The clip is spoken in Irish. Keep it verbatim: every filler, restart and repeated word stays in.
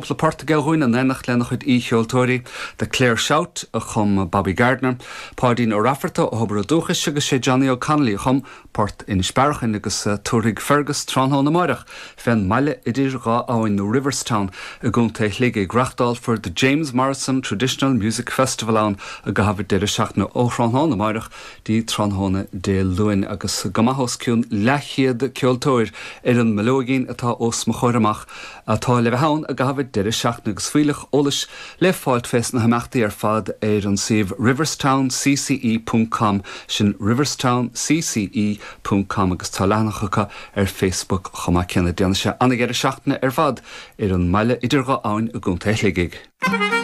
Cúpla port aige dhúinn in éineacht lena chuid aoicheoltóirí, The Clare Shout a chum Bobby Gardner, Páidín Ó Raifearta ó Thobar an Dúchais agus sé Johnny O'Connolly a chum Port Inis Bearachain agus eh, tabharfaidh Fergus tráthnóna amárach fén mbaile idir dhá abhainn nó Riverstown i gContae Shligigh reáchtálfar the James Morrison Traditional Music Festival ann i gcaitheamh deireadh seachtaine ó thráthnóna amárach dtí tráthnóna Dé Luain agus go maith os cionn leathchéad ceoltóir ar an mbileoigín atá os mo chomhair amach atá le bheith ann i gcaitheamh deireadh seachtaine agus fuílleach eolais le fáilt fés na himeachtaí ar fad ar an suíomh riverstown.cce.com sin riverstown.cce.com agus tá leathanach acu ar Facebook chomh maith céanna déanfaidh sé an-deireadh seachtaine ar fad ar an mbaile idir dhá abhainn i gContae Shligigh.